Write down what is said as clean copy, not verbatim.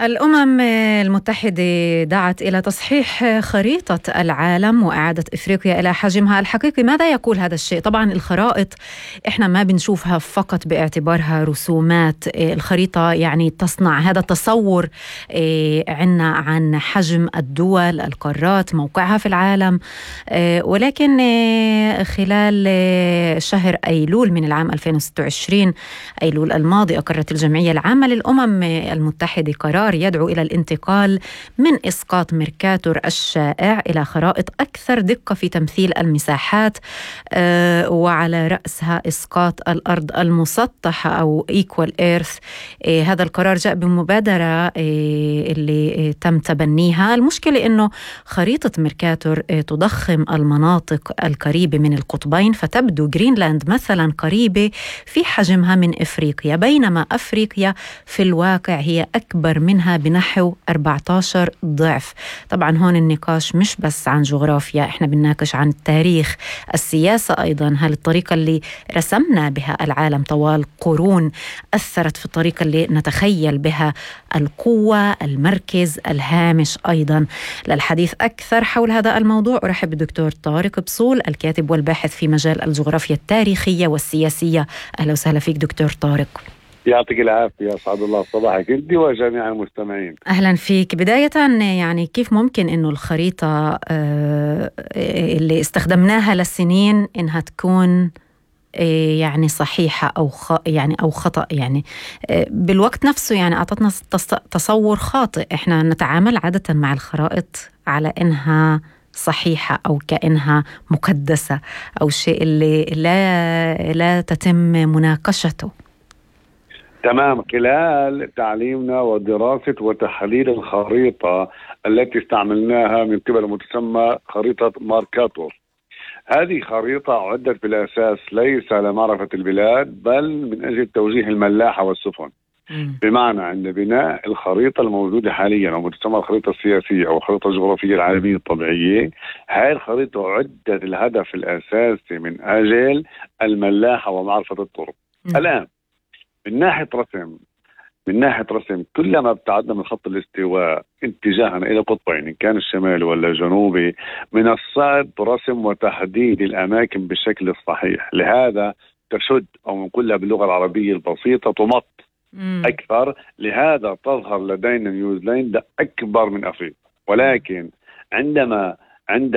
الأمم المتحدة دعت إلى تصحيح خريطة العالم وإعادة إفريقيا إلى حجمها الحقيقي. ماذا يقول هذا الشيء؟ طبعا الخرائط إحنا ما بنشوفها فقط باعتبارها رسومات. الخريطة يعني تصنع هذا التصور عنا عن حجم الدول، القارات، موقعها في العالم. ولكن خلال شهر أيلول من العام 2026 أيلول الماضي أقرت الجمعية العامة للأمم المتحدة قرار يدعو إلى الانتقال من إسقاط ميركاتور الشائع إلى خرائط أكثر دقة في تمثيل المساحات، وعلى رأسها إسقاط الأرض المسطحة أو Equal Earth. هذا القرار جاء بمبادرة اللي تم تبنيها. المشكلة إنه خريطة ميركاتور تضخم المناطق القريبة من القطبين، فتبدو جرينلاند مثلا قريبة في حجمها من إفريقيا، بينما أفريقيا في الواقع هي أكبر منها بنحو 14 ضعف. طبعا هون النقاش مش بس عن جغرافيا، احنا بنناقش عن التاريخ، السياسة أيضا. هل الطريقة اللي رسمنا بها العالم طوال قرون أثرت في الطريقة اللي نتخيل بها القوة، المركز، الهامش أيضا؟ للحديث أكثر حول هذا الموضوع أرحب بالدكتور طارق بصول، الكاتب والباحث في مجال الجغرافيا التاريخية والسياسية. أهلا وسهلا فيك دكتور طارق. يعطيك العافية، أسعد الله صباحك أنت وجميع المستمعين. أهلا فيك. بداية يعني كيف ممكن إنه الخريطة اللي استخدمناها للسنين إنها تكون يعني صحيحة أو خطأ، يعني بالوقت نفسه يعني أعطتنا تصور خاطئ. إحنا نتعامل عادة مع الخرائط على إنها صحيحة أو كأنها مقدسة أو شيء اللي لا تتم مناقشته. تمام. خلال تعليمنا ودراسة وتحليل الخريطة التي استعملناها من قبل المتسمى خريطة ماركاتور، هذه خريطة عدت بالأساس ليس لمعرفة البلاد بل من أجل توجيه الملاحة والسفن. بمعنى عند بناء الخريطة الموجودة حاليا أو متسمى الخريطة السياسية أو الخريطة الجغرافية العالمية الطبيعية، هذه الخريطة عدت الهدف الأساسي من أجل الملاحة ومعرفة الطرق. الآن من ناحية رسم كلما ابتعدنا من خط الاستواء اتجاها إلى قطبين، إن كان الشمالي ولا الجنوبي، من الصعب رسم وتحديد الأماكن بالشكل الصحيح. لهذا تشد أو نقولها باللغة العربية البسيطة تمط أكثر. لهذا تظهر لدينا نيوزيلندا أكبر من أفريقيا. ولكن عند